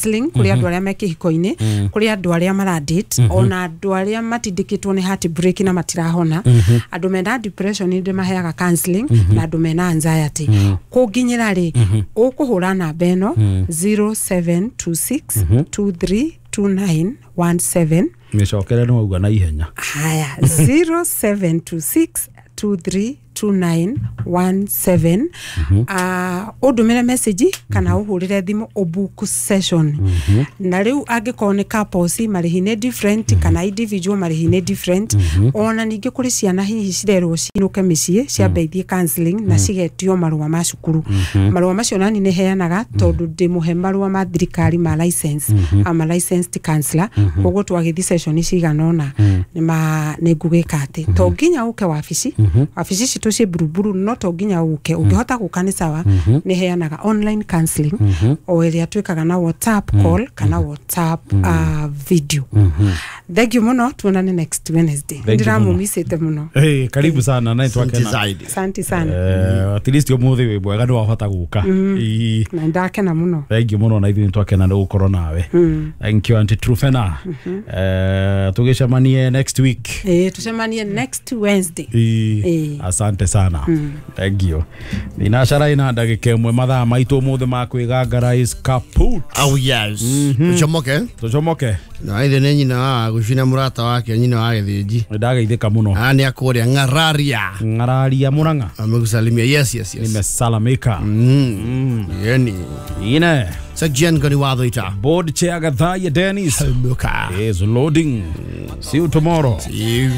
Counseling kũrĩ andũ arĩa me kĩhiko-inĩ, kũrĩ andũ arĩa maradate, ona andũ arĩa matindĩkĩtwo nĩ heartbreak na matirahona, andũ mena depression nĩ ndĩmaheaga counseling, na andũ mena anxiety. Kũnginyĩra rĩ, ũkũhũra namba ĩno 0726 232917. Mĩcokere, nĩ wauga na ihenya. Haya, 0726 232917. Ũndũmĩre message kana ũhũrĩre thimũ ũbook session. Na rĩu angĩkorwo nĩ couples, marĩhi nĩ different, kana individual, marĩhi nĩ different. Ona ningĩ kũrĩ ciana hihi cirerwo cinũke mĩciĩ ciambe ithiĩ counseling na cigetio marũa ma cukuru. Marũa macio nani nĩ heanaga, tondũ ndĩmũhe marũa ma thirikari ma license. I'm a licensed counselor, koguo twagĩthiĩ session cigana ũna nĩ ngũgĩka atĩ to nginya ũke wabici. Wabici citũ ciĩ Buruburu, no to nginya ũke. Ũngĩhota gũka nĩ sawa. Nĩ heanaga online counseling o ĩrĩa twĩkaga na WhatsApp call kana WhatsApp video. Thank you mũno, tuonane next Wednesday. Thank you mũno. Ndĩramũmicĩte mũno. Hey, karibu sana na Asante twakena. zaidi. Asante sana. At least ũmũthĩ wĩ mwega, nĩ wahota gũka. Ii. Na ndakena mũno. Thank you mũno, na ithuĩ nĩ twakena nĩ gũkorwo nawe. Thank you, Auntie Trufena. Tũgĩcemanie next week. Ĩĩ, tucemanie next Wednesday. Ii. Ĩĩ. Asante sana, thank you. Thinacara ina ndagĩka 1, mathaa maitũ ũmũthĩ ma kwĩgangara is kaput. Oh yes. Tucomoke. Tũcomoke. Na ithe nĩ nyina wa gũcina mũrata wake, nyina wa gĩthĩnji. Nĩ ndageithĩka mũno. Ah, nĩ akũrĩa Ng'araria. Ng'araria Mũrang'a. Amekusalimia. Yes. Nimesalamika. Yeni. Ine. Section gani watho ita. Board chair Gathaya Dennis Muka. is loading. See you tomorrow. See you.